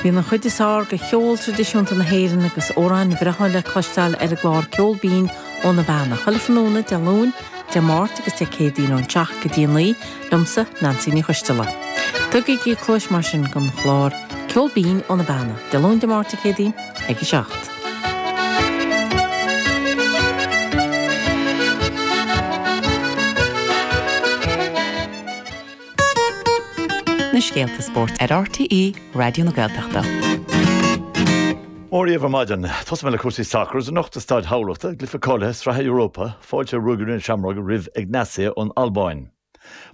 Bíonn an chuid is fearr de cheol traidisiúnta na hÉireann agus amhráin bhreátha le cloisteáil ar an gclár Ceol Binn ó na Beanna, chuile thráthnóna Dé Luain, Dé Máirt agus Dé Céadaoin ón 7 go dtí 9, liomsa, Neansaí Ní Choisteala. Tugaigí cluais mar sin don chlár Ceol Binn ó na Beanna, Dé Luain, Dé Máirt, Dé Céadaoin ag a 7. Na scéalta spóirt ar RTÉ Raidió na Gaeltachta. Mora dhaoibh ar maidin. Tosóidh mé le cúrsaí sacair agus anocht i Staid Thamhlachta, i gcluiche cáilithe Sraithe Europa, fáilte Ruagairí na Seamróige roimh Egnatia ón Albáin.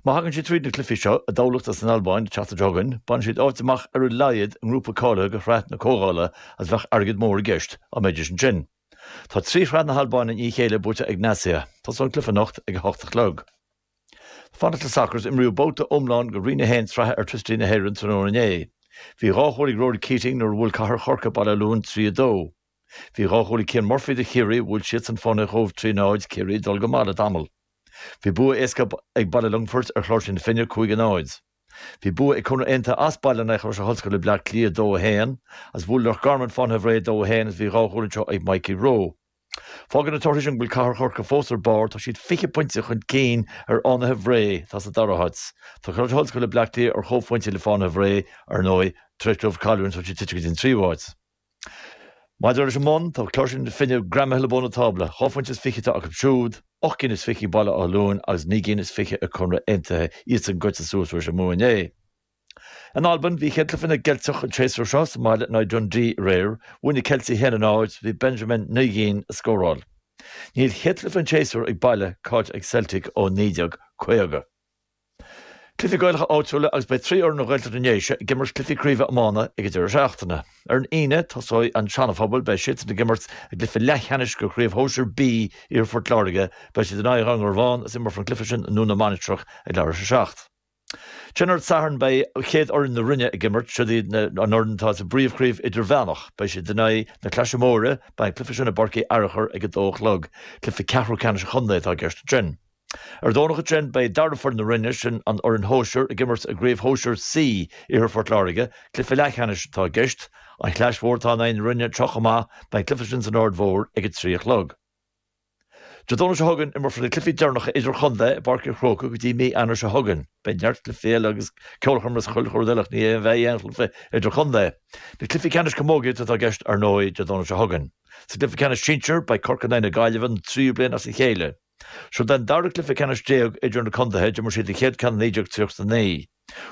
Má thagann siad tríd na cluichí seo i dTamhlacht agus san Albáin an tseachtain seo chugainn, bainfidh siad áit amach ar a laghad i ngrúpa cáilithe do Shraith na Comhdhála agus bheadh airgead mór i gceist dá mbeidís ansin. Tá 3 Shraith na hAlbáine i ndiaidh a chéile buaite ag Egnatia. Tosóidh an cluiche anocht ag a 8 a chlog. Fanacht le sacar is imríodh babhta iomlán de Roinn 1 Sraithe Airtricity na hÉireann tráthnóna inné. Bhí dhá chúl ag Rory Keating nuair a bhuail Cathair Chorcaí Baile Átha Luain 3, 2. Bhí dhá chúl ag Cian Murphy do Chiarraí, bhuail siadsan Fánaithe an Chóibh 3, 0, Ciarraí ag dul go maith le tamall. Bhí bua éasca ag Baile Longfoirt ar Chláirsigh na Finne 5, 0. Bhí bua ag Conradh Aontaithe as baile in aghaidh Choláiste na hOllscoile Bleá Cliath 2, 1, agus bhuail Loch Garman Fánaithe Bhré 2, 1 agus bhí dhá chúl anseo ag Mikey Rowe. Fágann na torthaí sin go bhfuil Cathair Chorcaí fós ar barr, tá siad 20 pointe chun cinn ar Fhánaithe Bhré, atá sa dara háit. Tá Coláiste na hOllscoile Bleá Cliath ar chomhphointe le Fánaithe Bhré, ar ndóigh, tar éis dóibh cailliúint, tá siad tite go dtí an tríú háit. Maidir leis an mbun, tá Cláirsigh na Finne greamaithe le bun an tábla, dhá phointe is fiche atá acu siúd, ocht gcinn is fiche ag Baile Átha Luain agus naoi gcinn is fiche ag Conradh Aontaithe, iadsan goite suas tar éis a mbua inné. In Albain, bhí chéad cluiche na gCeilteach an tséasúr seo sa mbaile in aghaidh Dundee aréir. Bhuaigh na Ceiltigh 1-0, bhí Benjamin Nigeen ag scóráil. Níl chéad chluiche an tséasúir ag baile caillte ag Celtic ó 1950. Cluichí Gaelacha áitiúla agus beidh 3 fhoireann ó Ghaeltacht na nDéise ag imirt cluichí craoibhe iomána ag an deireadh seachtaine. Ar an Aoine, tosóidh an Seana-Phobal, beidh siadsan ag imirt i gcluiche leathcheannais de Chraobh Shóisir B Iarthar Phort Láirge. Beidh siad in aghaidh Dhún Garbhán agus imreofar an cluiche sin i nDún na Mainistreach ag leathuair tar éis a 7. Ansin ar an Satharn beidh chéad fhoireann na Rinne ag imirt, siod iad an fhoireann atá sa bpríomhchraobh idirmheánach. Beidh siad in aghaidh na Claise Móire, beidh an cluiche sin i bPáirc Uí Fhearachair ag a dó a chlog. Cluiche ceathrú ceannais an chontae atá i gceist ansin. Ar an Domhnach ansin beidh dara foireann na Rinne, sin an fhoireann shóisir, ag imirt i gcraobh shóisir C Iarthar Phort Láirge. Cluiche leathcheannais atá i gceist. An Chlais Mhór atá in aghaidh na Rinne anseo chomh maith, beidh an cluiche sin san Aird Mhór ag a trí a chlog. Dé Domhnaigh seo chugainn, imreofar na cluichí deireanacha idirchontae i bPáirc an Chrócaigh go dtí mí Eanáir seo chugainn. Beidh neart cluichí eile agus ceolchoirm agus chuile rud eile ach ní bheidh aon chluiche idirchontae. Na cluichí ceannais camógaíochta atá i gceist ar ndóigh Dé Domhnaigh seo chugainn. Sa gcluiche ceannais sinsir, beidh Corcaigh in aghaidh na Gaillimhe don tríú bliain as a chéile. Seo an dara cluiche ceannais idir na contaetha, d'imir siad an chéad ceann i 1939.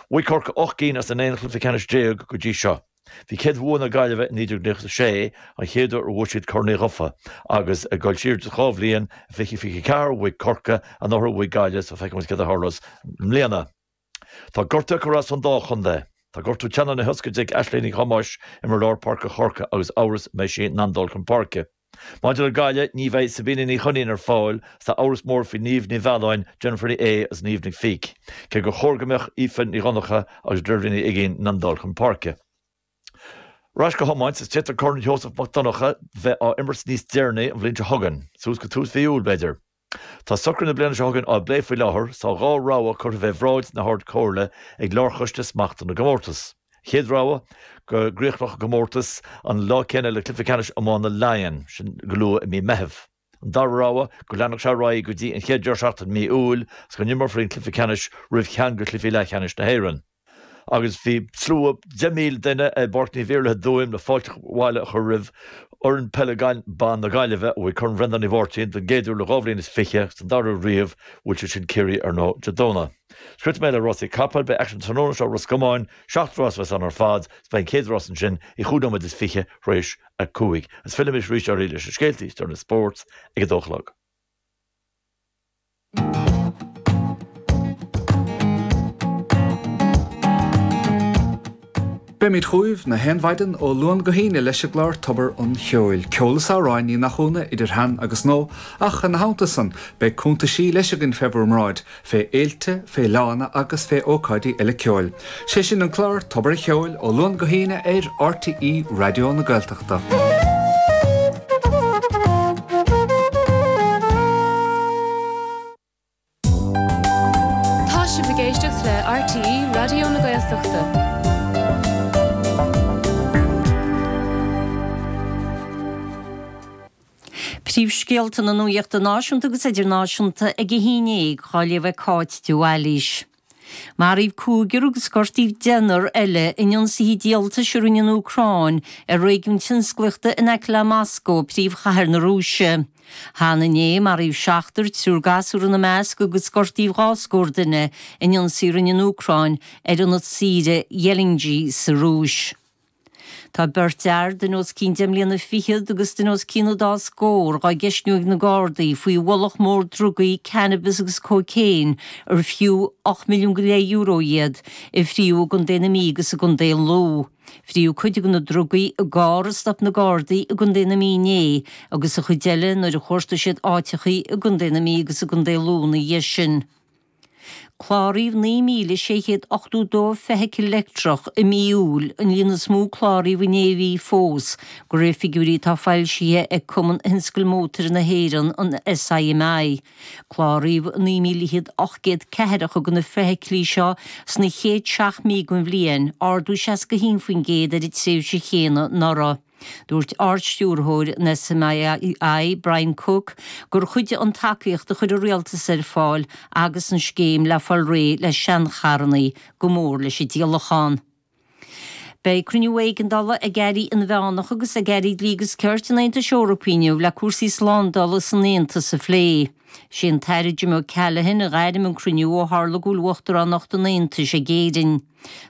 Bhuaigh Corcaigh 8 gcinn as an 11 chluiche ceannais go dtí seo. Bhí céad bhua na Gaillimhe i 1996, an chéad uair a bhuaigh siad Corn Uí Dhufaigh, agus ag dul siar dhá bhliain, i 2024, bhuaigh Corcaigh, anuraidh bhuaigh Gaillimh, so feicfidh muid céard a tharlós i mbliana. Tá gortuithe ag cur as don dá chontae. Tá gortú teannán na hioscaide ag Aisling Ní Thomáis, imreoir lár páirce Chorcaí, agus amhras an mbeidh sí in ann dul chun páirce. Maidir le Gaillimh, ní bheidh Sabina Ní Chuinnín ar fáil agus tá amhras mór faoi Niamh Ní Mhealláin, Jennifer Ní Aodha agus Niamh Nic Fiaich, cé gur chóir go mbeadh Aoife Ní Dhonncha agus Deirbhile Ní Uiginn in ann dul chun páirce. Ar ais go hiomáint, is d'fhéadfadh Corn Sheosamh Mac Donncha bheith á imirt níos deireanaí an bhliain seo chugainn, suas go tús mhí Iúil, b'fhéidir. Tá socruithe na bliana seo chugainn á bplé faoi láthair, tá dhá rogha curtha fé bhráid na hArd-Chomhairle ag Lárchoiste Smachta na gComórtas. An chéad rogha, go gcríochnódh an comórtas an lá céanna le cluiche ceannais iomána Laighean, sin go luath i mí Meitheamh. An dara rogha, go leanfadh sé ar aghaidh go dtí an chéad deireadh seachtaine i mí Iúil agus go n-imreofaí an cluiche ceannais roimh cheann de chluichí leathcheannais na hÉireann. Agus bhí slua 10,000 duine i bPáirc Naomh Iarlaith i dTuaim le fáilte abhaile a chur roimh fhoireann peile ban na Gaillimhe, a bhuaigh Corn Bhreandáin Uí Mháirtín don gcéad uair le dhá bhliain is fiche agus don dara huair riamh, bhuail siad sin Ciarraí ar ndóigh Dé Domhnaigh. Sroichfidh mé le rásaí capaill, beidh aicsean tráthnóna seo i Ros Comáin, seacht rás a bheas ann ar fad, is beidh an chéad rás ansin ag chúig nóiméad is fiche tar éis a cúig. Agus fillfidh mise arís oraibh leis na scéaltaí is deireanaí spóirt ag a dó a chlog. Beimid chugaibh na haon mhaidin ó Luan go hAoine leis an gclár Tobar an Cheoil. Ceol is amhráin, ní nach ionadh, idir shean agus nua, ach ina theannta san, beidh cuntaisí leis againn fé bhur mbráid, fé fhéilte, fé fhleánna agus fé ócáidí eile ceoil. Sé sin an clár Tobar an Cheoil ó Luan go hAoine ar RTÉ Raidió na Gaeltachta. Tá sibh ag éisteacht le RTÉ Raidió na Gaeltachta. Príomhscéalta na nuachta náisiúnta agus idirnáisiúnta ag a haon dhéag á léamh ag Cáit de Bhailís. Maraíodh cúigear agus gortaíodh deichniúr eile in ionsaithe díoltais a rinne an Úcráin ar réigiún tionsclaíochta in aice le Moscó, príomhchathair na Rúise. Cheana inné, maraíodh seachtar, triúr gasúr ina measc, agus gortaíodh dhá scór duine in ionsaí a rinne an Úcráin ar ionad saoire Ghelendzhik sa Rúis. Tá beirt fhear, duine os cionn deich mbliana fichead agus duine os cionn an dá scór, dhá gceistniú ag na Gardaí faoi bhfolach mór drugaí, cannabis agus cóicéin, ar fiú €8 milliún go leith euro iad, a fríodh i gContae na Mí agus i gContae Lú. Fríodh cuid de na drugaí i gcarr a stop na Gardaí i gContae na Mí inné agus an chuid eile nuair a chuartaigh siad áiteachaí i gContae na Mí agus i gContae Lú ina dhiaidh sin. Cláraíodh 9,682 feithicil leictreach i mí Iúil, an líon is mó a cláraíodh in aon mhí fós, de réir figiúirí atá foilsithe ag Cumann Thionscal Mótair na hÉireann, an SIMI. Cláraíodh 19,804 de na feithiclí seo sna chéad seacht mí den bhliain, ardú 61% ar an tréimhse chéanna anuraidh. Dúirt Ard-Stiúrthóir an SIMI, Brian Cooke, gur chuidigh an tacaíocht a chuir an Rialtas ar fáil agus an scéim le fáil réidh le seancharranna go mór leis an díolachán. Beidh cruinniú éigeandála ag airí inmheánacha agus ag airí dlí agus cirt an Aontais Eorpaigh inniu le cúrsaí slándála san Aontas a phlé. Is é an tAire Jim O'Callaghan a ghairm an cruinniú ó tharla go bhfuil Uachtaránacht an Aontais ag Éirinn.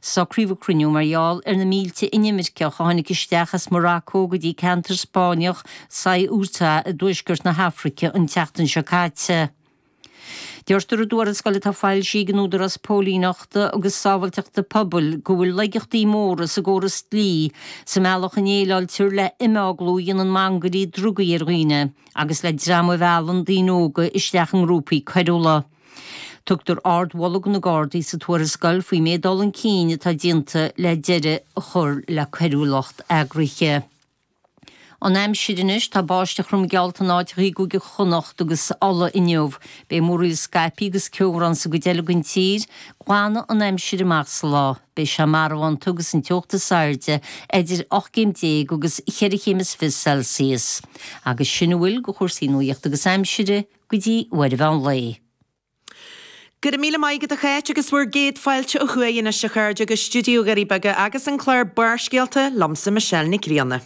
Socraíodh an cruinniú mar gheall ar na mílte inimirceach a tháinig isteach as Morocco go dtí ceantar Spáinneach Ceuta i dtuaisceart na hAfraice an tseachtain seo caite. Deirtear i dtuarascáil atá foilsithe ag an Údarás Póilíneachta agus Sábháilteachta Pobail go bhfuil laigeachtaí móra sa gcóras dlí sa mbealach a ndéileáiltear le himeaglú a dhéanann mangairí drugaí ar dhaoine agus le dream a mheallann daoine óga isteach i ngrúpaí coiriúla. Tugtar ardmholadh do na Gardaí sa tuarascáil faoin méid dul chun cinn atá déanta le deireadh a chur le coiriúlacht eagraithe. An aimsir anois, tá báisteach throm geallta in áiteacha i gCúige Chonnacht agus Uladh inniu. Beidh múraíl scaipthe agus ceobhrán sa gcuid eile den tír. Glanfaidh an aimsir amach sa lá. Beidh sé marbhánta agus an teocht is airde idir 18 céim agus cheithre chéim is fiche Celsius. Agus sin a bhfuil de chúrsaí nuachta agus aimsire go dtí uair an mheán lae. Go raibh míle maith agat a Cháit agus bhur gcéad fáilte ó thuaidh anois a chairde go stiúideo Dhoirí Beaga agus an clár Barrscéalta liomsa Michelle Nic Grianna.